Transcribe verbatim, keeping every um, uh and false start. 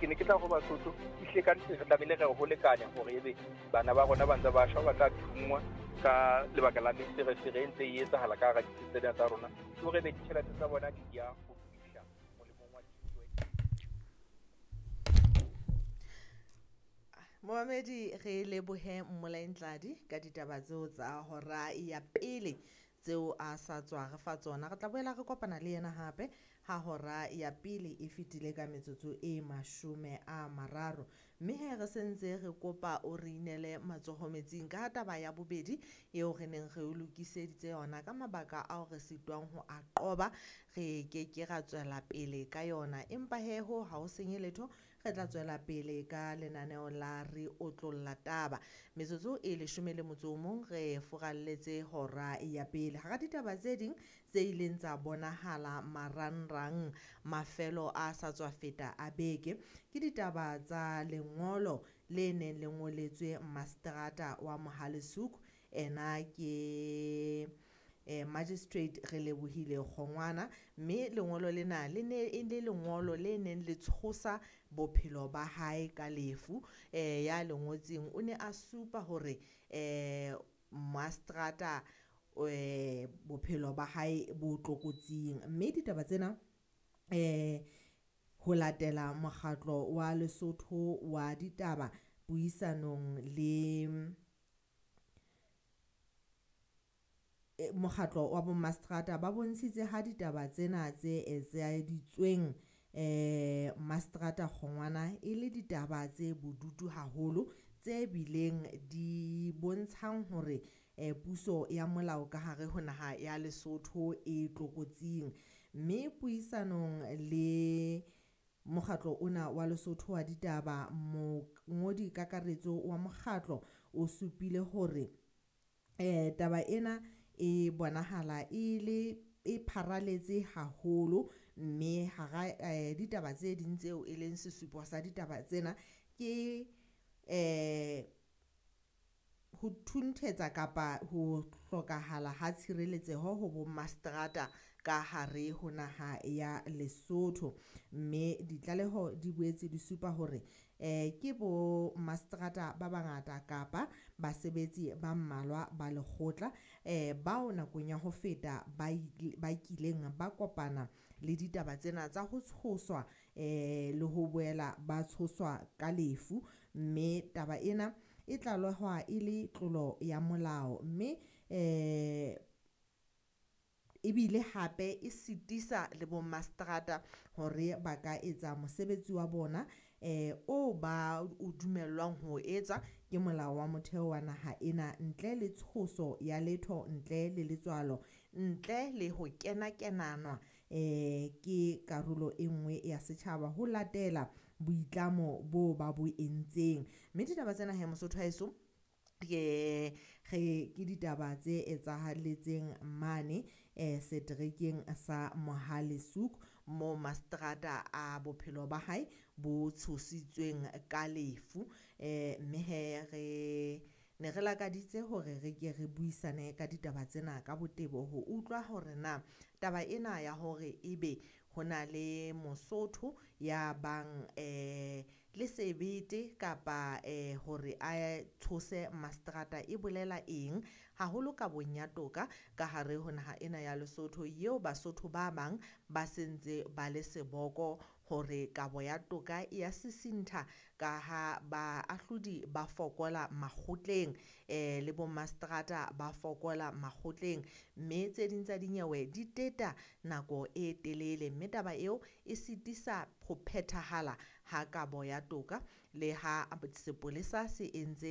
Ke ne ke tla go Basotho, ehlile ka nnete re tlamehile re ho lekane hore ebe bana ba rona ba ntse ba shwa, ba tla thunngwa ka lebaka la meferefere e ntse e etsahala ka hara ditsi tsena tsa rona, ke hore ebe ditjhelete tsa bona di ya ho fihla molemong wa thuto. Momamedi, re lebohe Mmolai Ntladi ka ditaba tseo tsa hora ya pele tseo a sa tswa re fa tsona. Re tla boela re kopana le yena hape ha hora ya pele e fetile ka metsotso e mashome a mararo. Mme he re sentse re kopa o re inele matsoho metsing ka taba ya bobedi eo re neng re o lokiseditse yona ka mabaka ao re sitwang ho a qoba, re keke ra tswela pele ka yona. Empa he ho ha ho senye letho, re tla tswela pele ka lenaneo la re otlolla taba. Metsotso e leshome le motso o mong re furalletse hora ya pele. Hara ditaba tse ding tse ileng tsa bonahala marangrang mafelo a sa tswa feta a beke, ke ditaba tsa lengolo le neng le ngoletswe maseterata wa Mohale's Hoek. Ena ke eh, Magistrate Relebohile Kgongwana, mme lengolo lena le ne e le lengolo le neng le tshosa bophelo ba hae ka lefu. Eh, ya le ngotseng o ne a supa hore eh maseterata eh bophelo ba hae bo tlokotsing. Mme ditaba tsena eh ho latela mokgatlo wa Lesotho wa ditaba puisanong le mokgatlo wa bo maseterata ba bontshitse ha ditaba tsena tse etsaeditsweng eh maseterata Kgongwana e le ditaba tse bodutu haholo, tse bileng di bontshang hore eh puso ya molao ka hare ho naha ya Lesotho e tlokotsing. Mme puisanong le mokgatlo ona wa Lesotho wa ditaba, mongodi kakaretso wa mokgatlo o supile hore eh taba ena e bonahala e le e pharaletse haholo, mme hara eh ditaba tse ding tseo e leng sesupo sa ditaba tsena ke eh ho thunthetsa kapa ho hlokahala ha tshireletseho ho bo maseterata ka hare ho naha ya Lesotho. Mme ditlaleho di boetse di supa hore eh ke bo maseterata ba bangata kapa basebetsi ba mmalwa ba lekgotla eh bao nakong ya ho feta ba ba kileng ba kopana le ditaba tsena tsa ho tshoswa eh le ho boela ba tshoswa ka lefu. Mme taba ena e tlalehwa e le tlolo ya molao, mme eh ebile hape e sitisa le bo maseterata hore ba ka etsa mosebetsi wa bona eh o ba o dumellwang ho etsa ke molao wa motheo wa naha ena, ntle le tshoso ya letho, ntle le letswalo, ntle le ho kena-kenanwa eh ke karolo e nngwe ya setjhaba ho latela boitlamo bo ba bo entseng. Mme ditaba tsena he Mosotho haeso, ke re ke ditaba tse etsahaletseng mane eh seterekeng sa Mohale's Hoek, mo maseterata a bophelo ba hae bo tshositsweng ka lefu. Eh mme he re ne re lakaditse hore re ke re buisane ka ditaba tsena ka botebo ho utlwa hore na taba ena ya hore ebe ho na le Mosotho ya bang eh le sebete kapa eh hore a tshose maseterata e bolela eng haholo kabong ya toka ka hare ho naha ena ya Lesotho, eo Basotho ba bang ba sentse ba le seboko hore kabo ya toka e ya sisintha ka ha baahlodi ba fokola makgotleng eh le bo maseterata ba fokola makgotleng, mme tse ding tsa dinyewe di teta nako e telele, mme taba eo e sitisa ho phethahala ha kabo ya toka le ha sepolesa se entse